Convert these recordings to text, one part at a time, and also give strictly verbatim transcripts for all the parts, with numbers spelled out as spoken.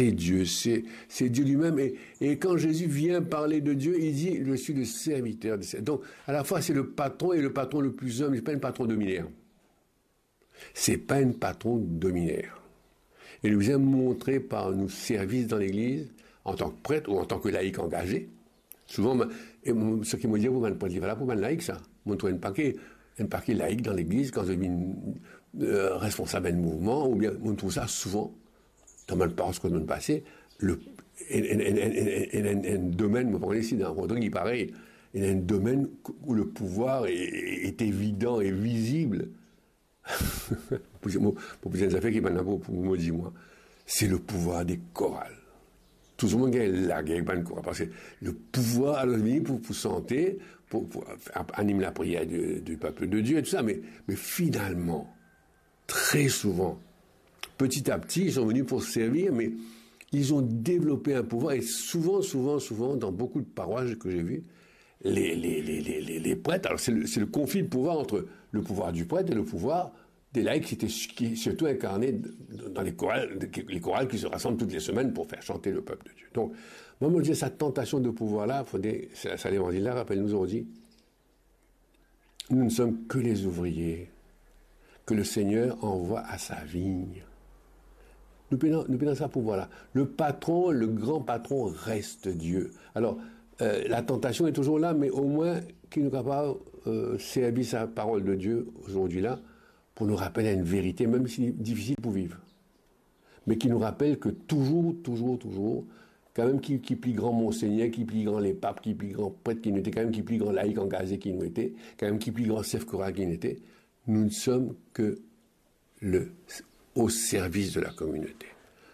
C'est Dieu, c'est, c'est Dieu lui-même. Et, et quand Jésus vient parler de Dieu, il dit, je suis le serviteur des serviteurs. Donc, à la fois, c'est le patron et le patron le plus humble. C'est pas un patron de mineurs. C'est pas un patron de mineurs. E nou bizin montre par nou servis dan legliz, antan ki pret ou antan ki laik angaze. Souvan, e mo, seki mo dir pou bann pret, li pa la pou bann laik sa. Mo trouv enn pake, enn pake laik dan legliz, kan zot vinn, euh, responsab enn mouvman, oubien mo trouv sa souvan dan bann parois kot mo pase, le, enn, enn, enn domenn, mo pa kone si dan Rodrig li parey, enn domenn où le pouvoir est, est évident et visible. Pou mo, pou enn zafer ki bann la pou, pou mo dir mwa, c'est le pouvoir des chorales. Touzour mo gagn lager bann koral, parski le pouvwar, alor, vini pou, pou sante, pou, pou anim lapriyer de, du peuple de Dieu, et tout ça, mais, mais finalement, très souvent, petit à petit, ils sont venus pour servir, mais ils ont développé un pouvoir, et souvent, souvent, souvent, dans beaucoup de paroisses que j'ai vues, les, les, les, les, les, les prêtres, alors c'est le, c'est le conflit de pouvoir entre le pouvoir du prêtre et le pouvoir des laïcs, qui était qui, surtout incarné dans les chorales, les chorales qui se rassemblent toutes les semaines pour faire chanter le peuple de Dieu. Donc, moi, je me dis, cette tentation de pouvoir-là, faut des, ça, ça, l'évangile-là rappelle nous aujourd'hui, nous ne sommes que les ouvriers que le Seigneur envoie à sa vigne. Nou pena, nou pena sa pouvwar la. Le patron, le grand patron reste Dieu. Alors, euh, la tentation est toujours là, mais au moins ki nou kapav, euh, servi sa parole de Dieu aujourd'hui là pour nous rappeler une vérité, même si dificile pour vivre. Mais qui nous rappelle que toujours, toujours, toujours, quand même ki, ki pli gran monseigneur, ki pli gran lepap, ki pli gran pret ki nou ete, quand même ki pli gran laik angaze ki nou ete, quand même ki pli gran sef koral ki nou ete, nous ne sommes que le, au service de la communauté.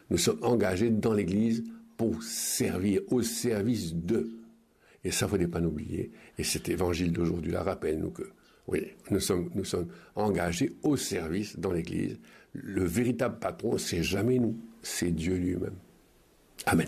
Nous sommes engagés dans l'Église pour servir, au service de. Et ça, faut pas l'oublier. Et cet évangile d'aujourd'hui-là rappelle nous que, oui, nous sommes, nous sommes engagés au service dans l'Église. Le véritable patron, c'est jamais nous, c'est Dieu lui-même. Amen.